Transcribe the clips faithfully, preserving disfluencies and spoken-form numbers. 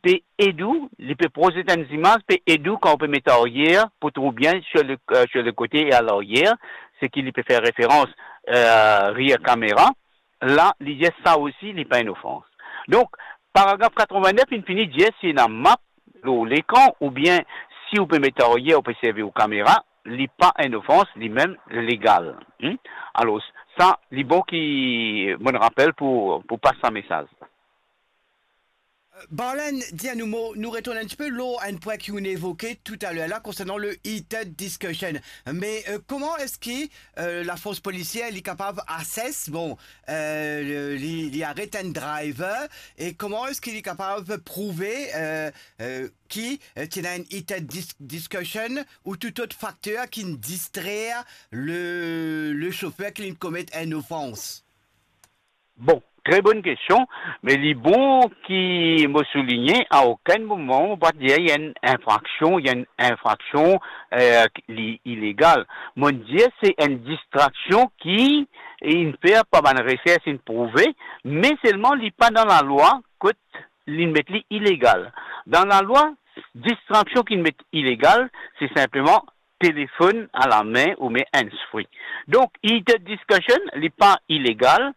pe ed ou, li pe prozet enn zimaz, pe ed ou kan ou pe met aryer pou trouv bien sur le, euh, sur le côté et à l'arrière, seki li pe fer referans, euh, rear camera, la, li dir sa osi, li pa enn ofans. Donk, paragraf katrevin-nef, inn fini dir si ena map lor lekran, oubien si ou pe met aryer, ou pe servi ou kamera, li pa enn ofans, li mem legal. Hmm? Alor, sa, li bon ki mo'nn rapel pou, pou pas sa mesaz. Barlen, dir nou mo, nou retourn enn tipe lor enn pwin ki ou'nn evoke toutaler la, konsernan le heated discussion. Me, euh, kouma eski, euh, lafors polisier, li kapav assess, bon, euh, li, li aret enn driver, e kouma eski li kapav prouve, euh, euh, ki, euh, ti ena enn heated dis-, discussion ou tou lot fakter ki'nn distrer le, le sofer ki'nn komet enn ofans? Bon, tre bonn kestion, me li bon ki mo souligne, a okenn moman mo pa dir li enn infraksion, li enn infraksion, euh, li ilegal. Mo'nn dir se enn distraksion ki inn fer par bann resers, inn prouve, me selman li pa dan lalwa kot li'nn met li ilegal. Dan lalwa, distraksion ki'nn met ilegal, se sinpleman telefonn alame oubien hands-free. Donk, heated discussion, li pa ilegal,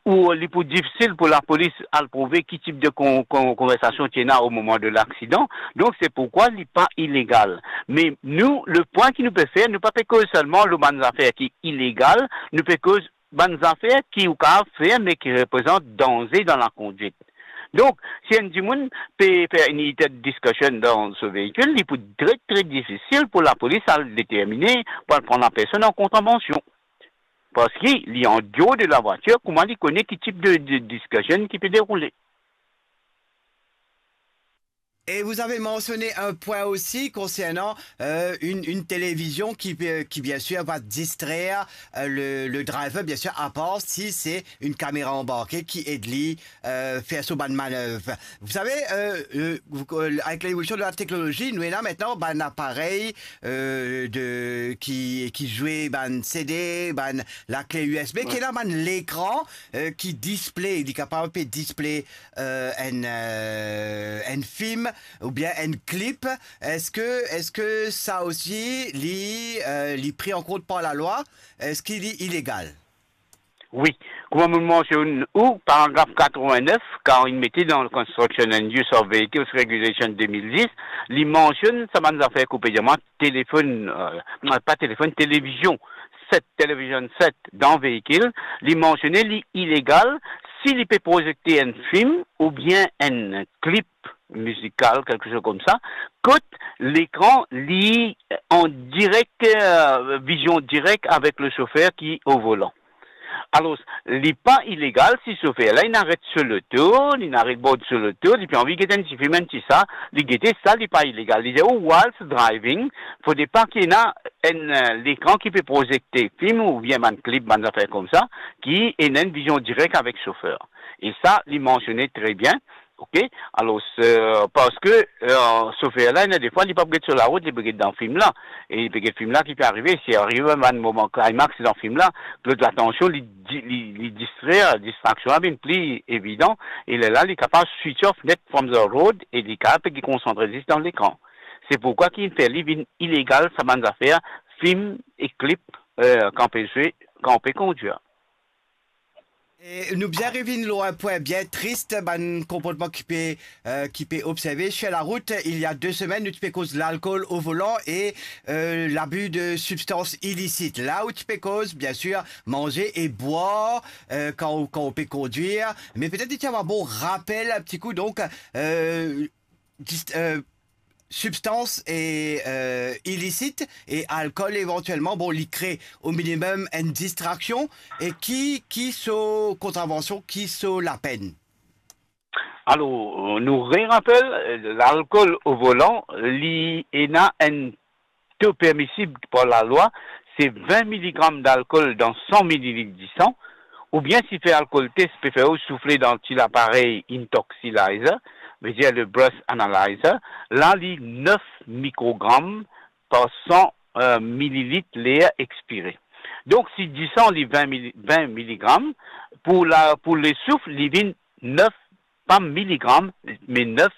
ou li pou difisil pou lapolis al prouve ki tip de kon-, kon-, konversasion ti ena o moman de laksidan. Donk, se poukwa li pa ilegal. Me nou, le pwin ki nou pe fer, nou pa pe koz selman lor bann zafer ki ilegal, nou pe koz bann zafer ki ou kapav fer, me ki reprezant danze dan lakondwit. Donk, si enn dimoun pe fer enn heated discussion dan so veikil, li pou tre, tre difisil pou lapolis al determine, pou al pran lapersonn an kontravansion. Parski li an deor de lavwatir, kouma li kone ki tip de, de discussion ki pe deroule? Et vous avez mentionné un point aussi concernant, euh, une, une télévision qui, euh, qui bien sûr va distraire, euh, le, le driver, bien sûr, à part si c'est une caméra embarquée qui aide lui, euh, faire son bonne manœuvre. Vous savez, euh, euh, vous, euh, avec l'évolution de la technologie, nou ena aster bann aparey, euh, de, ki, ki zwe bann C D, bann lakle U S B, ki ena bann lekran, euh, ki display, li kapav pe display euh, enn, euh, enn fim oubien enn klip, eski, eski sa osi li, euh, li pri an kont par lalwa? Eski li ilegal? Wi, kouma mo mansionn ou, paragraf katrevin-nef, kan inn mete dan Construction and Use of Vehicles Regulation de mil dis, li mansionn sa bann zafer ki ou pe dir mwa, telefonn, euh, non, pa telefonn, televizion set, television set dan veikil, li mansione li ilegal si li pe prozekte enn fim oubien enn klip mizikal, kelke soz koumsa, kot lekran li an direk, euh, vizion direk avek le sofer ki o volan. Alor, li pa ilegal si sofer la, li aret so loto, li aret bord so loto, li pe anvi get enn ti fim, enn ti sa, li gete sa, li pa ilegal. Li dir, ou whilst driving, fode pa ki ena enn, euh, lekran ki pe prozekte fim oubien bann klip, bann zafer koumsa, ki ena enn vizion direk avek sofer. E sa, li mansione tre bien, ok? Alor, euh, parski, euh, sofer la, ena defwa, li pa pe get so larout, li pe get dan fim la. E li pe get fim la ki pe arive, si arive bann moman climax dan fim la, lot latansion, li di-, li, li distrer, distraksion la vinn pli evidan, e lerla, li kapav switch off net from the road, e li kapav pe konsantre zis dan lekran. Se poukwa ki inn fer li vinn ilegal, sa bann zafer, fim e klip, euh, kan pe zwe, kan pe kondwir. E nou bizin revinn lor enn pwin bien tris, bann konportman ki pe, euh, ki pe observe sur la route. Il y a deux semaines, nou ti pe koz lalkol o volan e, euh, l'abus de substances illicites. La ou ti pe koz, bien sûr, manger et boire, euh, quand, quand on peut conduire. Mais peut-être, tiens, un bon rappel, un petit coup, donc, euh, dis-, euh, substans e, euh, ilisit e alkol evantielman, bon, li kre o minimem enn distraksion. E ki, ki so kontravansion, ki so lapenn? Alor, nou rerapel, lalkol o volan, li ena enn to permisib par lalwa, se vin miligram dalkol dan san mililit disan, oubien si fer alkol test pe fer ou soufle dan ti laparey intoxilizer, vedir le breath analyzer, la li nef mikrogram par san, euh, mililit ler expire. Donk, si disan li vin mili-, vin miligram, pou la, pou lesouf, li vinn nef, pa miligram, me nef